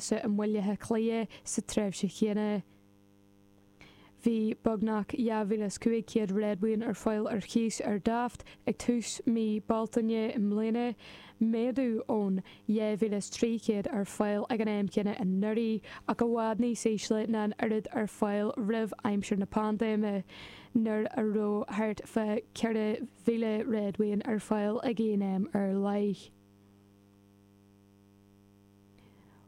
cíosa i mBaile Átha Cliath sa tréimhse chéanna. Bhí beagnach 2,500 réadmhaoin ar fáil ar chíos ar Daft ag tús mí Bealtaine i mbliana, méadú ón 2,300 ar fáil ag an am céanna anuraidh, ach i bhfad níos ísle ná an oiread ar fáil roimh aimsir na paindéime, nuair a raibh thart fá 4,000 réadmhaoin ar fáil ag aon am ar leith.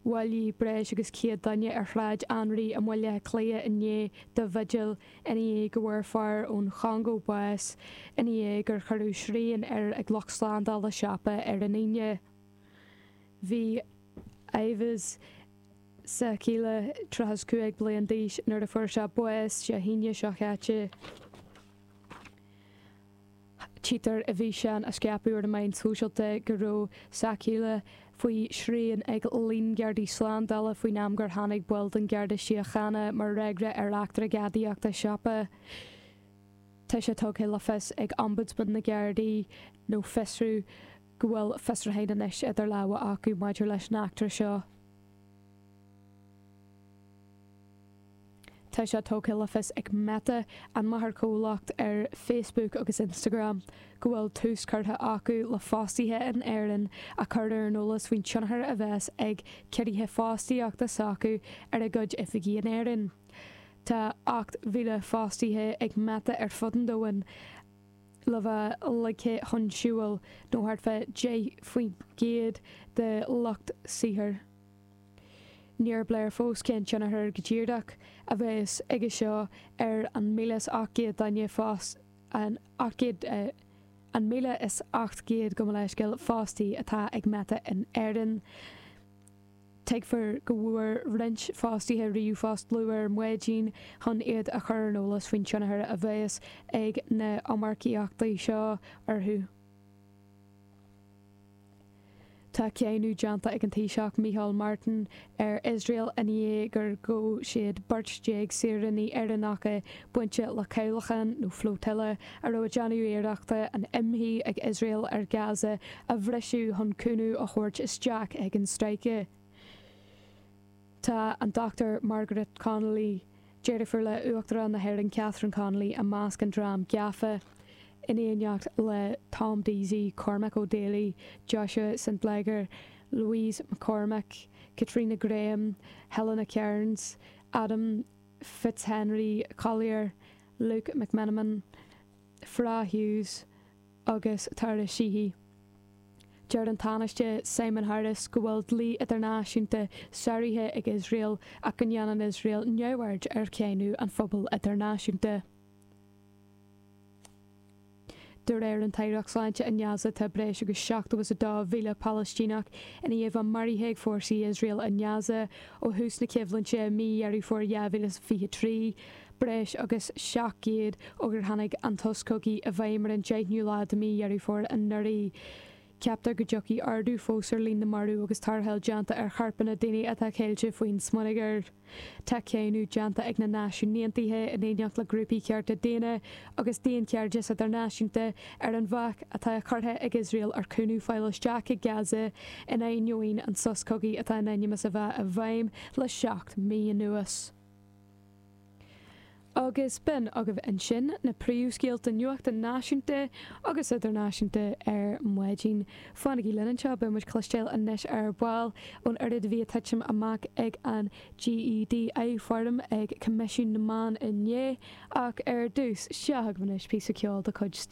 Bhailigh breis agus 100 duine ar Shráid Anraí i mBaile Átha Cliath inné do bhigil i ndiaidh go bhfuair fear ón Chongó bás i ndiaidh gur cuireadh srian air ag lucht slándála siopa ar an Aoine. Bhí Yves Sakila 35 bliain d'aois nuair a fuair sé bás Dé hAoine seo chaite. Tchítear i bhfíseán a scaipeadh ar na meáin shóisialta go raibh Sakila faoi shrian ag líon gardaí slándála faoin am gur tháinig baill den Gharda Síochána mar fhreagra ar eachtra gadaíochta siopa. Tá sé tugtha le fios ag Ombudsman na Gardaí, nó Fiosrú, go bhfuil fiosrúcháin anois idir lámha acu maidir leis an eachtra seo. Tá sé tugtha le fios ag Meta, an máthairchomhlacht ar Facebook agus Instagram, go bhfuil tús curtha acu le fostaithe in Éirinn a chur ar an eolas faoin tionchar a bheas ag ciorruithe fostaíochta s'acu ar a gcuid oifigí in Éirinn. Tá 8,000 fostaithe ag Meta ar fud an domhain le bheith ligthe chun siúil, nó thart fá 10% de lucht saothair. Níor léir fós cén tionchar go díreach a bheas aige seo ar an 1,800 duine fos an 800 an 1,800 gabh mo leithscéal fostaí atá ag Meta in Éirinn. Tuigtear go bhfuair roinnt fostaithe ríomhphost luath ar maidin chun iad a chur ar an eolas faoin tionchar a bheas ag na hiomarcaíochtaí seo orthu. Tá cáineadh déanta ag an Taoiseach Micheál Martin ar Iosrael i ndiaidh gur ghabh siad beirt déag saoránaigh Éireannacha bainte le cabhlachán nó flotilla a raibh ag déanamh iarrachta an imshuí ag Iosrael ar Gaza a bhriseadh chun cúnamh a thabhairt isteach ag an stráice. Tá an Dr Margaret Connolly, deirfiúr le Uachtarán na hÉireann Catherine Connolly, i measc an dream gafa, in éineacht le Tom Deasy, Cormac Ó Dálaigh, Joshua St Leger, Louise McCormack, Katrina Graham, Helena Cairns, Adam Fitzhenry Collier, Luke McMenamin, Fra Hughes agus Tara Sheehy. Deir an Tánaiste Simon Harris go bhfuil dlí idirnáisiúnta sáraithe ag Iosrael ach go ndéanann Iosrael neamhaird ar cháineadh an phobail idirnáisiúnta. De réir an tAireacht Sláinte i nGaza tá breis agus 72,000 Palaistíneach i ndiaidh a bheith maraithe ag fórsaí Iosrael i nGaza ó thús na coimhlinte i mí Dheireadh Fómhair 2023, breis agus 700 ó gur tháinig an sos cogaidh i bhfeidhm ar an 10ú lá de mhí Dheireadh Fómhair anuraidh. Ceaptar go dtiocfaidh ardú fós ar líon na marbh agus tarrtháil déanta ar choirpeanna daoine atá ceilte faoin smionagar. Tá cáineadh déanta ag na Náisiúin Aontaithe, in éineacht le grúpaí cearta daonna agus daonchairdeas idirnáisiúnta, ar an bhac atá curtha ag Iosrael ar chúnamh fáil isteach chuig Gaza in ainneoin an sos cogaidh atá in ainm is a bheith i bhfeidhm le 7 mí anuas. Agus b'in agaibh ansin na príomhscéalta nuachta náisiúnta agus idirnáisiúnta ar maidin. Fanaigí linn anseo, beidh muid cloisteáil anois ar ball ón oiread a bhí ag titim amach ag an GEDI Forum ag Coimisiún na Meán inné. Ach ar dtús, seo agaibh anois píosa ceoil de chuid Steve.